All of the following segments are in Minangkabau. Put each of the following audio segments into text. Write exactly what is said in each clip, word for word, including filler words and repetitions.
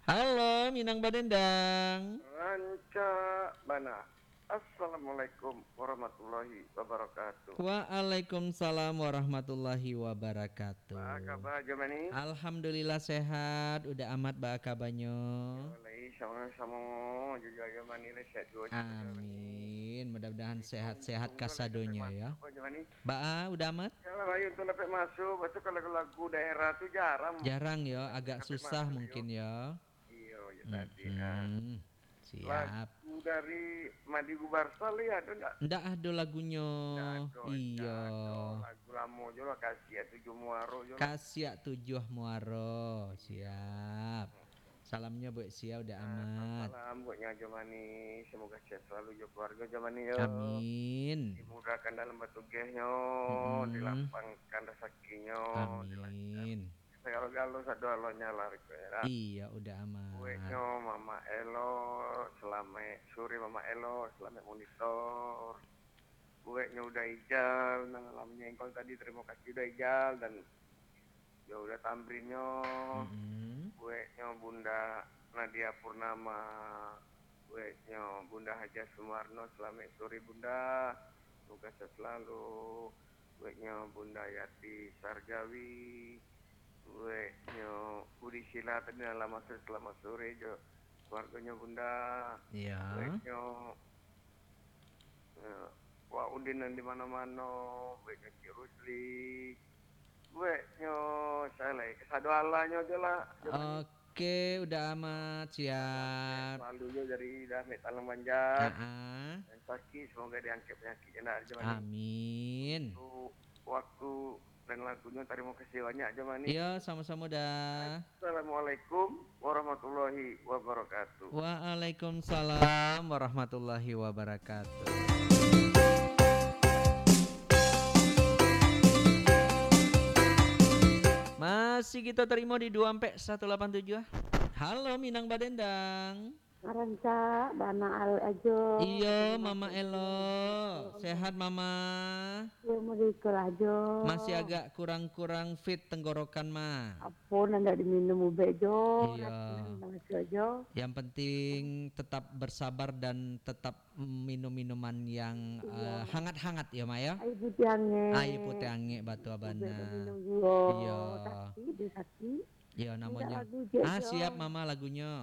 Halo, Minang Badendang. Rancak bana. Assalamualaikum warahmatullahi wabarakatuh. Waalaikumsalam warahmatullahi wabarakatuh. Baa kaba, Ajo Mani? Alhamdulillah sehat, Uda Amat baa kabanyo? Yo, lai samo-samo, Ajo, Ajo Mani lai sehat juo, Ajo Mani. Amin. Mudah-mudahan sehat-sehat kasadonyo, yo. Ajo Mani. Baa, Uda Amat? Yo, lah, baik, untuak dapek masuak, lepas tu kalau lagu daerah tu jarang. Jarang, yo, agak susah mungkin, yo. Iyo, yo, tadi, ah. Mm-mm. Siap. Lagu dari Madi Gubarsal, yo, ado ndak? Ndak ado lagunyo. Ndak ado, ndak ado. Iyo. Lagu lamo juo lah, Kasiak Tujuah Muaro juo lah. Kasiak Tujuah Muaro, siap. Salamnyo buek sia, Uda Amat? Ah, salam bueknyo Ajo Mani, semoga sehat selalu jo keluarga Ajo Mani, yo. Amin. Dimudahkan dalam batugehnyo, mm-mm, dilapangkan rezekinyo, dilancarkan. Amin. Sagalo-galo sadoalonyo lah, riko, yo, lah. Iyo, Uda Amat. Bueknyo Mama Elo, salamaik sore Mama Elo, salamaik monitor. Bueknyo Uda Ijal, nan lah manyengkol tadi, tarimo kasih Uda Ijal, dan jo Uda Tamrinnyo. Mm-mm. Bueknyo Bunda Nadia Purnama, bueknyo Bunda Hajah Sumarno, salamaik sore Bunda, semoga sehat selalu. Bueknyo Bunda Yati Sarjawi, bueknyo Budi Sila tadi nan lah masuak, salamaik sore jo keluarganyo Bunda. Iyo. Bueknyo, eh, Wak Udin nan di mano-mano, bueknyo Cik Rusli, bueknyo sia lai, kasadoalahnyo juo lah, Ajo Mani. Oke, Uda Amat, siap. Selalu juo dari Damek Talang Banjar. Ha-a. Nan sakik, semoga diangkek panyakiknyo, Ajo Mani. Amin. Untuak waktu dan lagunyo, tarimo kasih banyak, Ajo Mani. Iyo, samo-samo, Da. Assalamualaikum warahmatullahi wabarakatuh. Waalaikumsalam warahmatullahi wabarakatuh. Masih kito tarimo di dua ampek satu lapan tujuah. Halo, Minang Badendang. Rancak bana Ajo. Iyo, Mama Elo. Sehat, Mama? Iyo, model iko lah, Jo. Masih agak kurang-kurang fit tenggorokan, Ma. Apo nan ndak diminum ubek, Jo? Iyo. Racunan masuk, Jo. Yang penting tetap bersabar dan tetap minum minuman yang, iyo, eh, hangat-hangat, yo, Ma, yo? Aia putiah angek. Aia putiah angek, batua bana. Ubek diminum juo. Iyo. Sakik, dia sakik. Iyo, mintak namonyo lagu je, ah, Jo. Siap, Mama, lagunyo.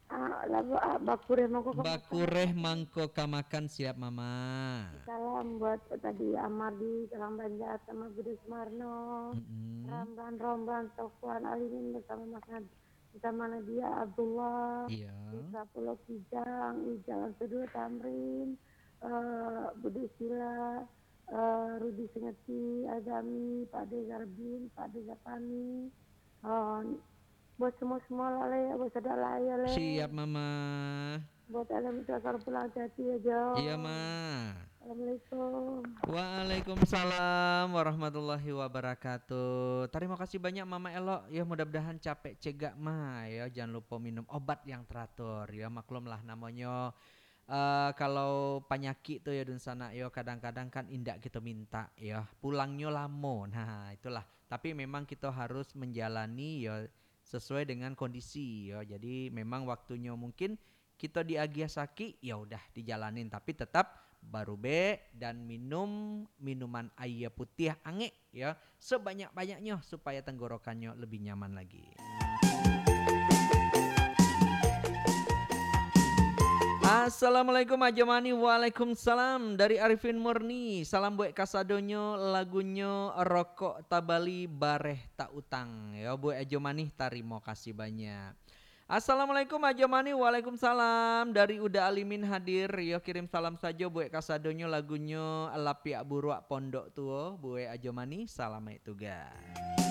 Ah, lagu, ah, Bakureh Mangko Kamakan. Bakureh Mangko Kamakan, siap, Mama. Salam buat tadi Amardi, salam Banjar sama Budi Sumarno. Mm-mm. Ramlan, Romlan, Sofwan, Alimin bersama Mas Nad-, bersama Nadia Abdullah. Iya. Putra Pulau Kijang, Ijal Sudur Tamrin, eh, Budi Sila, eh, Rudi Sengeti, Azami, Pak De Zarbin, Pak De Zapani, eh, buat semua-semua lah, Le, buat sadar lah, ya, Le. Siap, Mama. Buat alam itu asal pulang hati-hati ya, Jo. Iya, Ma. Assalamualaikum. Waalaikumsalam warahmatullahi wabarakatuh. Tarimo kasih banyak, Mama Elok. Ya, mudah-mudahan capek cegak, Ma. Ya, jangan lupa minum obat yang teratur. Ya, maklumlah namonyo, eh, kalau panyakik tu ya, dunsanak, yo, kadang-kadang kan indak kito minta, ya. Pulangnyo lamo. Nah, itulah. Tapi memang kito harus menjalani, ya, sesuai dengan kondisi, yo. Jadi, memang waktunyo mungkin kito diagiah sakik, ya udah dijalanin, tapi tetap barubek dan minum minuman aia putiah angek, ya, sebanyak-banyaknyo supaya tenggorokannyo lebih nyaman lagi. Assalamualaikum, Ajo Mani. Waalaikumsalam. Dari Arifin Murni. Salam buat kasadonyo, lagunyo Rokok Tabali Bareh Tak Utang. Yo, buat Ajo Mani, tarimo kasih banyak. Assalamualaikum, Ajo Mani. Waalaikumsalam. Dari Uda Alimin hadir. Yo, kirim salam sajo buat kasadonyo, lagunyo Lapiak Buruak Pondok Tuo. Buat Ajo Mani, salamaik tugas.